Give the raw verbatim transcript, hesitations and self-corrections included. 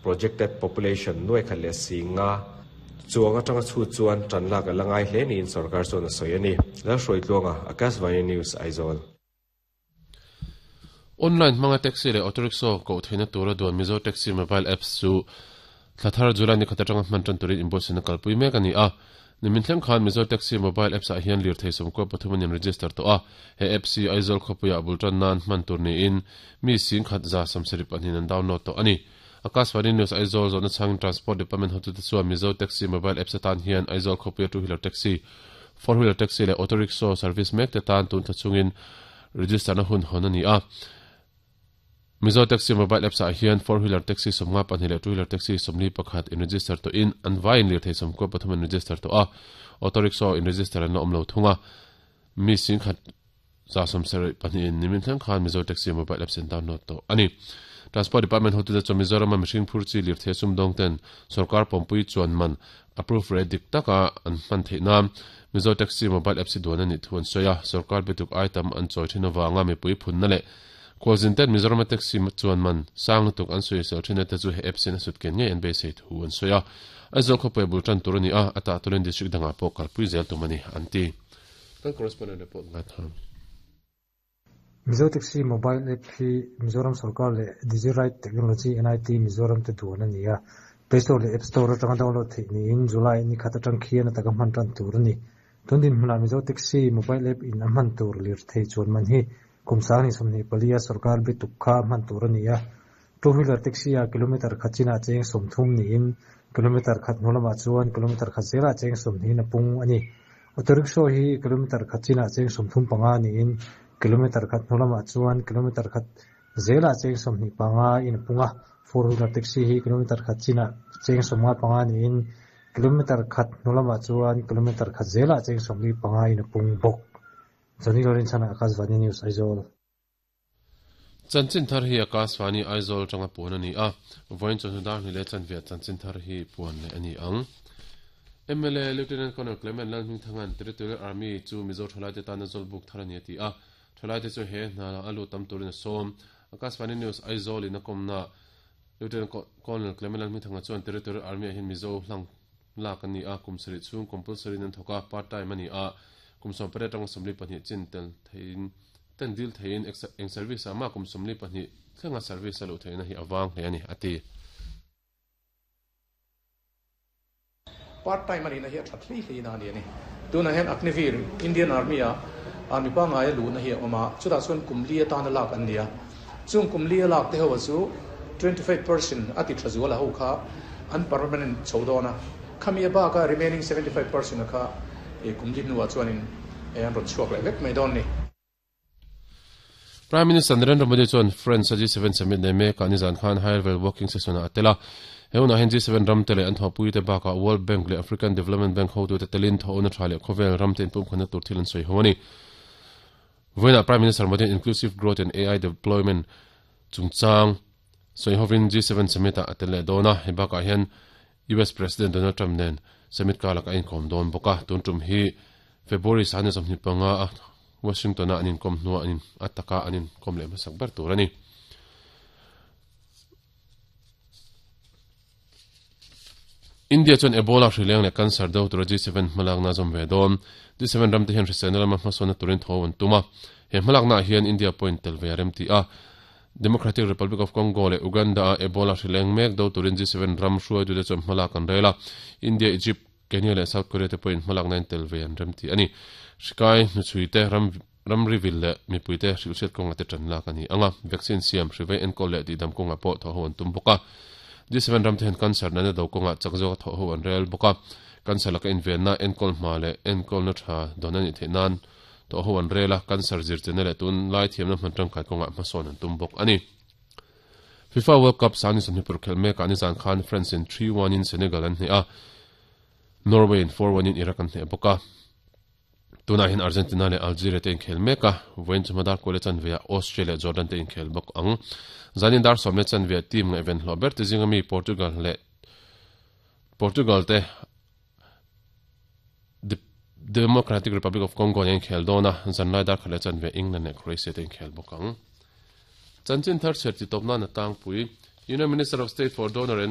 Projected population nuai khat leh singa chuang atanga chhut chuan tan lak a la ngai hle niin sarkar chuan a sawi a ni. Lalhruaitluanga, Akashvani News, Aizawl. Online hmanga taxi leh auto rickshaw koh theihna tura duan Mizo Taxi mobile apps chu thlathar July ni khat atanga hman tan turin inbuatsaihna kalpui mek a ni a. Nimin thleng khan Mizo Taxi mobile apps ah hian lirthei sawmkua pathum an in-register tawh a. He apps hi Aizawl khawpuiah bul tan nan hman tur niin mi sing khat za sawmsarih pahnih an download tawh a ni. Akashvani News Aizawl zawhna chhangin Transport Department hotute chuan Mizo Taxi mobile apps atan hian Aizawl khawpuia two wheeler taxi, four wheeler taxi leh auto rickshaw service mek te tan tun thla chungin register na hun hawn a ni a. Mizo Taxi mobile apps ah hian four wheeler taxi sawmnga pahnih leh two wheeler taxi sawmli pakhat in register tawhin an vaiin lirthei sawmkua pathum an register tawh a. Auto rickshaw in register an la awm lo thung a. Mi sing khat za sawmsarih pahnih in nimin thleng khan Mizo Taxi mobile apps an download tawh a ni. Transport Department hotute chuan Mizoram a mihring phur chi lirthei sumdawng ten sarkar pawmpui chuan man approve rate dik taka an hman theih nan Mizo Taxi mobile apps hi duan a nih thu an sawi a. Sarkar bituk item an chawi thin awanga mipui phunna leh khualzin ten Mizoram a taxi chuan man sang lutuk an sawi sel thin te chu he apps in a sut ken ngei an beisei thu an sawi a. Aizawl khawpui bul tan tur a ni a, ata turin district dangah pawh kalpui zel tum a ni an ti. Kan correspondent report ngai tham. Mizo Taxi mobile app hi Mizoram sarkar leh Digiride Technology N I T Mizoram te duan a ni a. Play Store leh App Store atanga download theih niin July ni khat atang khian ataka hman tan tur a ni. Tun din hmunah Mizo Taxi mobile app in a hman tur lirthei chuan man hi kum sang ni sawmhnih palia sarkar bituk kha hman tur a ni a. Two wheeler taxi a kilometer khat chinah cheng sawmthum niin kilometer khat hnu lamah chuan kilometer khat zelah cheng sawmhnih a pung a ni. Auto rickshaw hi kilometer khat chinah cheng sawmthum panga niin kilometer khat hnu lamah chuan kilometer khat zelah cheng sawmhnih panga in a pung a. Four wheeler taxi hi kilometer khat chinah cheng sawmnga panga niin kilometer khat hnu lamah chuan kilometer khat zelah cheng sawmli panga in a pung bawk. Johnny Lawrence chana Akashvani News Aizawl. Chanchin thar hi Akashvani Aizawl tanga puan a ni a. Vawiin chawhnu dar hnih leh chanve chanchin thar hi puan leh a ni ang. M L A Lieutenant Colonel Clement Lalhmingthangan Territorial Army chu Mizo thalai te tana zawlbuk thar a ni a ti a. Thalai te chu he hna a lut tam turin a sawm. Akashvani News Aizawl in a kawmna Lieutenant Colonel Clement Lalhmingthanga chuan Territorial Army ah hian Mizo hlang lak a ni a, kum sarih chhung compulsory in an thawk a, part time a ni a, kum sawm pariat atanga sawmli pahnih chin tel theiin ten dil theiin eng service ah mah kum sawmli pahnih thlenga service a luh theihna hi a vang hle a ni a ti. Part time a nihna hi a that hlei hlei na a ni a ni. Tunah hian Agniveer, Indian Army ah army pangngai a luhna hi a awm a, chutah chuan kum li atana lak an ni a. Chung kum li a lak te ho a chu twenty five percent a ti tha zual a ho kha an permanent chho dawn a. Khami a bak a remaining seventy five percent a kha kum li hnuah chuanin an rawn chhuak leh vek mai dawn ni. Prime Minister Narendra Modi chuan France a G seven summit nei mek ah nizan khan high level working session ah a tel a. He hunah hian G seven ram te leh an thawhpui te bakah World Bank leh African Development Bank hotute telin thawhna tha leh khawvel ram te inpumkhatna tur thil an sawi ho a ni. Vawiinah Prime Minister Modi Inclusive Growth and A I Deployment chungchang sawi hovin G seven summit ah a tel leh dawn a. Hei bakah hian U S President Donald Trump nen summit kalak a inkawm dawn bawk a. Tun tum hi February sahnih sawmhnih panga a Washington a an inkawm hnuah an in a taka an inkawm leh hmasak ber tur a ni. India chuan Ebola hrileng leh cancer do tura G seven hmalakna zawm ve dawn. G seven ramte hian hriselna lama hmasawnna turin tho an tum a. He hmalakna ah hian India pawhin tel ve a rem ti a. Democratic Republic of Congo leh Uganda a Ebola hrileng mek do turin G seven ram hruaitute chuan hmalak an rel a. India, Egypt, Kenya leh South Korea te pawhin hmalakna in tel ve an rem ti a ni. Hrikai, hnuchhui te, ram ramri vil leh mipui te hrilhhriat kawnga te tan lak a ni ang a. Vaccine siam, hrivei enkawl leh tihdam kawnga pawh thawh ho an tum bawk a. G seven ram te hian cancer nana do kawnga chak zawka thawh ho an rel bawk a. Cancer laka invenna, enkawl hma leh enkawlna tha dawn a nih theih nan thawh ho an rel a. Cancer zirchena leh tun lai thiamna hman tangkai kawnga hmasawn an tum bawk a ni. FIFA World Cup sani sawmhnih paruk khelh mekah nizan khan France in three one in Senegal an hneh a, Norway in four one in Iraq an hneh bawk a. Tunah hian Argentina leh Algeria te inkhel mek a, vawiin chu hmadar kual leh chanve ah Austria leh Jordan te inkhel bawk ang. Zanin dar sawm leh chanve ah team ngaihven hlawh ber te zinga mi Portugal leh Portugal te Democratic Republic of Congo nen inkhel dawn a, zanlai dar khat leh chanve England leh Croatia te inkhel bawk ang. Chanchin thar chhiar ti tawp nan a tlangpui. Union Minister of State for Donor and